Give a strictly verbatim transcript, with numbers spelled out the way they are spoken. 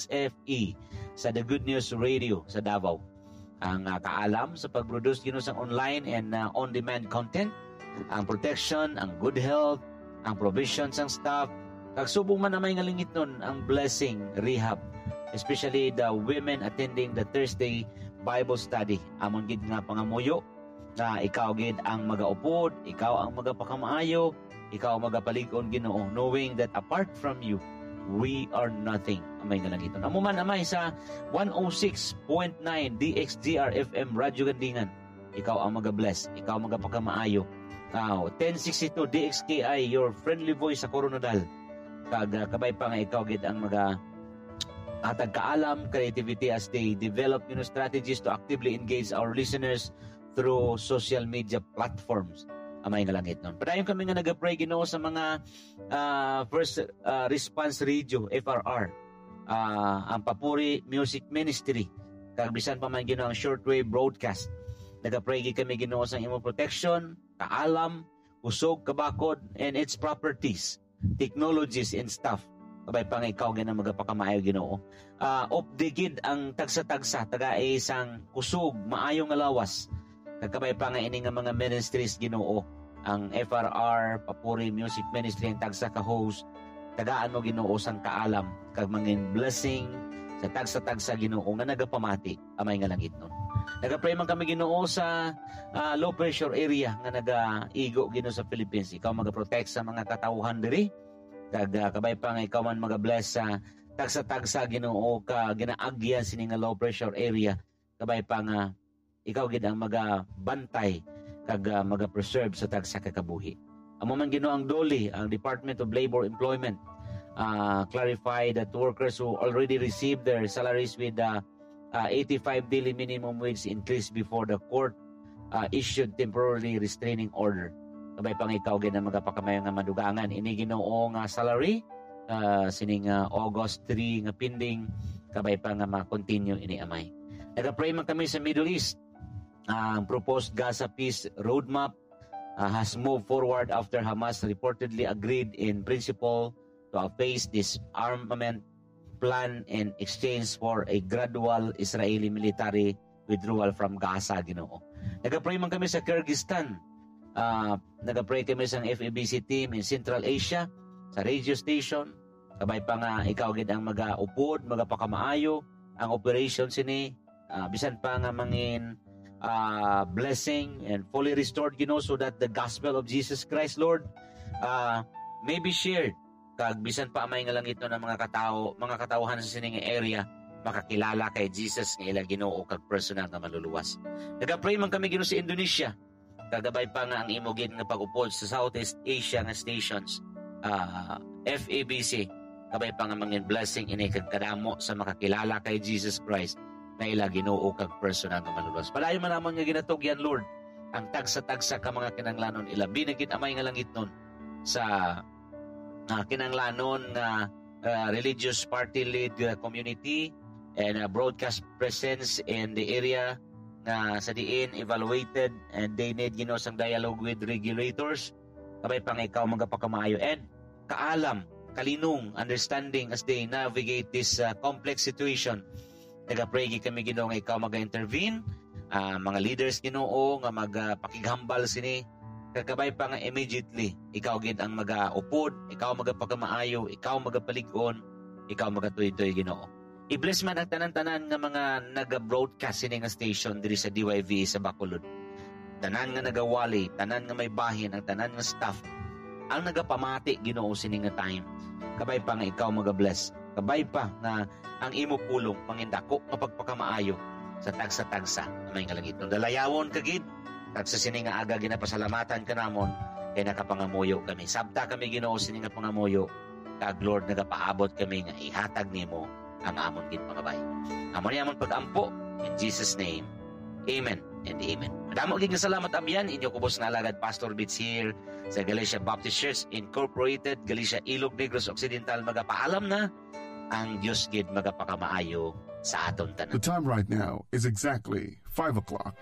F E sa The Good News Radio sa Davao. Ang, ah, kaalam sa pag-produce, Ginoo, sang online and, ah, on-demand content, ang protection, ang good health, ang provision sang staff, kag subong man, Amay nga langitnon, ang blessing, rehab, especially the women attending the Thursday Bible study. Amon gid nga pangamuyo nga ikaw gid ang magaupod, ikaw ang magapakamaayo, ikaw ang magapalig-on, Ginoo, knowing that apart from you, we are nothing. Amay nga langitnon. Amo man, Amay, sa one oh six point nine D X G R F M Radyo Gandingan, ikaw ang magabless, ikaw ang magapakamaayo. Aw, ten sixty-two D X K I, your friendly voice sa Coronadal. Kag, ah, kabay pa nga ikaw gid ang maga hatag kaalam, creativity as they develop, you know, strategies to actively engage our listeners through social media platforms. Amay nga langitnon. Padayon kami nga nagapray, Ginoo, sa mga, ah, first, ah, response radio, F R R, ah, ang Papuri Music Ministry, kag bisan pa man, Ginoo, ang shortwave broadcast. Nagapray gid kami, Ginoo, sa imong protection, kaalam, kusog, kabakod, and its properties, technologies, and stuff. Kabay pa nga ikaw gid ang magapakamaayo, Ginoo. Ah, updi gid ang tagsa-tagsa, tagai sang kusog, maayo nga lawas. Kag kabay pa nga ini nga mga ministries, Ginoo, ang F R R, Papuri Music Ministry, ang tagsa ka host, tagaan mo, Ginoo, sang kaalam, kag mangin blessing sa tagsa-tagsa, Ginoo, nga nagapamati, Amay nga langitnon. Nagapray man kami, Ginoo, sa, ah, low pressure area nga nagaigo, Ginoo, sa Philippines. Ikaw magaprotect sa mga katawhan diri. Kag, ah, kabay pa nga ikaw man magabless sa tagsa-tagsa, Ginoo, ka ginaagyan sini nga low pressure area. Kabay pa nga ikaw gid ang magabantay kag, ah, magapreserve sa tagsa ka kabuhi. Amo man, Ginoo, ang DOLE, ang Department of Labor Employment, ah, clarify that workers who already received their salaries with, ah, ah, eighty-five daily minimum wage increase before the court, ah, issued temporary restraining order. Kabay pa nga ikaw gid ang magapakamaayo nga madugangan ini, Ginoo, nga salary, ah, sining, ah, August three nga pending, kabay pa nga ma-continue ini, Amay. Nagapray man kami sa Middle East. Ang proposed Gaza peace roadmap, ah, has moved forward after Hamas reportedly agreed in principle to a phased disarmament plan in exchange for a gradual Israeli military withdrawal from Gaza, Ginoo. Nagapray man kami sa Kyrgyzstan. Ah, nagapray kami sa F E B C team in Central Asia, sa radio station. Kabay pa nga ikaw gid ang magaupod, magapakamaayo ang operation sini, ah, bisan pa nga mangin, ah, blessing and fully restored, Ginoo, so that the gospel of Jesus Christ, Lord, ah, may be shared. Kag bisan pa, Amay nga langitnon, ang mga katao, mga katawhan sa sining area makakilala kay Jesus nga ila Ginoo kag personal nga Manluluwas. Nagapray man kami, Ginoo, sa Indonesia. Kagabay pa nga ang imo gid nga pag-upod sa Southeast Asia nga stations, ah, F E B C. Kabay pa nga mangin blessing ini kag kadamo sa makakilala kay Jesus Christ na ila Ginoo kag personal nga Manluluwas. Padayon man namon nga ginatugyan, Lord, ang tagsa-tagsa ka mga kinahanglanon, ilabi na gid, Amay nga langitnon, sa, ah, kinahanglanon nga, ah, religious party led, ah, community and, ah, broadcast presence in the area nga sa diin evaluated and they need, Ginoo, sang dialogue with regulators. Kabay pa nga ikaw magapakamaayo and kaalam, kalinong, understanding as they navigate this, ah, complex situation. Nagapray gid kami, Ginoo, nga ikaw maga-intervene, ah, mga leaders, Ginoo, nga magapakighambal sini. Kag kabay pa nga immediately, ikaw gid ang magaupod, ikaw magapakamaayo, ikaw magapalig-on, ikaw magatuytoy, Ginoo. I-bless man ang tanan-tanan nga mga naga-broadcast sini nga station diri sa D Y V sa Bacolod. Tanan nga nagawali, tanan nga may bahin, ang tanan nga staff, ang nagapamati, Ginoo, sini nga time. Kabay pa nga ikaw magabless. Kabay pa nga ang imo pulong mangindako nga pagpakamaayo sa tagsa-tagsa, Amay nga langitnon. Dalayawon ka gid, kag sa sini nga aga ginapasalamatan ka namon, kay nakapangamuyo kami. Sabta kami, Ginoo, sini nga pangamuyo, kag, Lord, nagapaabot kami nga ihatag nimo ang amon gid pangabayo. Amo ni amon pag-ampo. In Jesus' name, amen and amen. Madamo gid nga salamat, Abyan. Inyo kubos nga alagad, Pastor Bits here sa Galicia Baptist Church Incorporated, Galicia, Ilog Negros Occidental. Magapaalam na. Ang Dios gid magapakamaayo sa aton tanan. The time right now is exactly five o'clock.